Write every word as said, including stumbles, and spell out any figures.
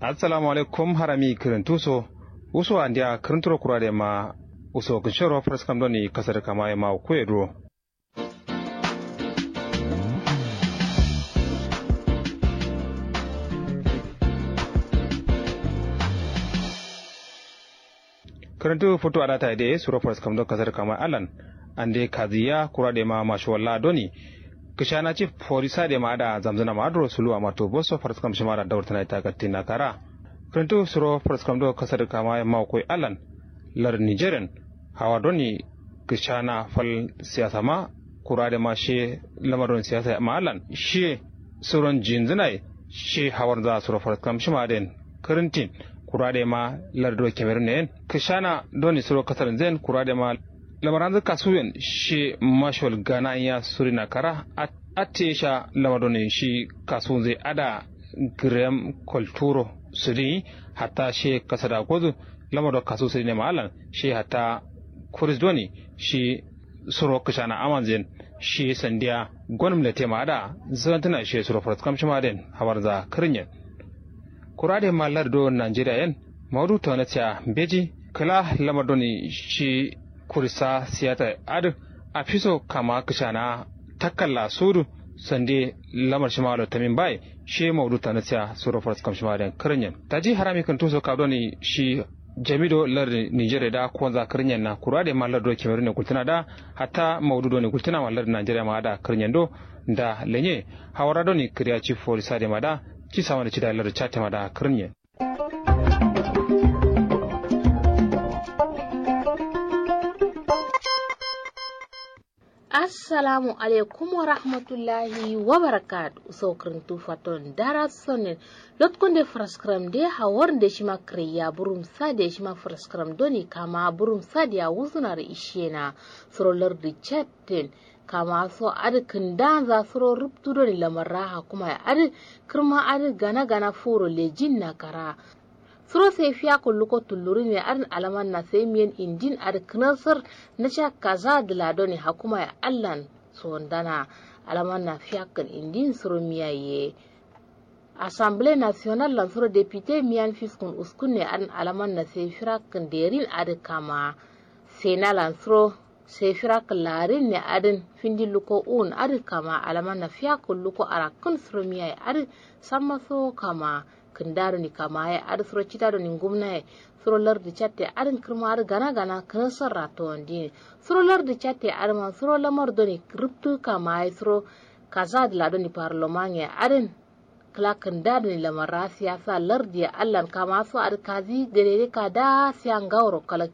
Assalamu alaikum harami kǝrǝntu so. Uso andiya kǝrǝnturo kura dai ma uso kǝnshoro faraskam doni kasar kamaye ma kuye duro. Kǝrǝntu futu adata dai suro faraskam do kasar kamaye allan. Ande kaziya kura dai ma masho walla doni. Kǝshana cif forisa dai ma ada zamzǝna ma aduro suluwa ma to boso faraskam shima da daurtana ita gattina kara. Kǝrǝntu suro faraskam do kasar kamaye ma kuye allan. Lar nigerian hawa doni kǝshana fal siyasa ma kura dai ma she lamar doni siyasa ma allan she suron jinzǝna ye she hawar za suro faraskam shima den. Kǝrǝntin kura dai ma lar do kemerun ne yen kǝshana doni suro kasar zen kura dai ma lamaranzǝ kasuyen she mashol gana ya surina kara. Atte sha lamar doni shi kasunzǝ ada grem kolturo sudin hatta she kasada gozu. Lamar do kasu sudin ma allan she hatta kuris doni shi suro kǝshana amanzen shi sandiya gonum lete ma ada zantǝna shi suro faraskam shima den hawarza kǝrǝnyen. Kura dai ma lar do nigeria yen maudu tonatiya mbeji kǝla lamar doni shi kurisa siyata adǝ afiso kama kǝshana takkalla sudu sande lamar shima lo tamin bai. Shi maudu tonatiya suro faraskam shima den kǝrǝnyen taji harami kǝntu so kab doni shi jami do lardi nigeria da konza kǝrǝnyen na kura dai ma lardi do kemerun ne gultǝna da hatta maudu doni gultǝna ma lardi nigeria ma ada kǝrǝnyen do. Nda lenye hawara doni kǝriya ci forisa dai ma da ci samana cida lardi cate ma da kǝrǝnyen. Assalamu alaikum warahmatullahi wabarakatuh. Uso kǝrǝntu faton dara sonin. Lotkonde faraskram de hawar de shima kǝrayya burum sa de shima faraskram doni kama burum sa de ya wuzuna ri ishena. Suro lardi chatten kama so adǝ kǝndanza suro rubtu doni lamarra hakuma ya adǝ kǝrma adǝ gana gana furo lejin na kara. Suro sai fiya kulluko tullurin ne adǝn alaman na sai miyan indin adǝ kǝnasar na sha kaza dǝla doni hakuma ya allan. Sondana alaman na fiya kǝn indin suro miya ye. Assemble national lan suro depute miyan fiskun uskun ne adǝn alaman na sai firak kǝn derin adǝ kama. Sena lan suro sai firak kǝn larin ne adǝn findi luko un adǝ kama alaman na fiya kulluko arakkun suro miya ye adǝ samma so kama. Kǝnda doni kamaye adǝ suro cita doni ngumnaye suro lardi catte adǝn kǝrma adǝ gana gana kǝnasar ratowandin. Suro lardi catte adǝ ma suro lamar doni rubtu kamaye suro kaza dǝla doni parloman ye adǝn. Kǝla kǝnda doni lamarra siyasa lardi ye allan kama so adǝ kazi gade de kada siya ngaworo kalak.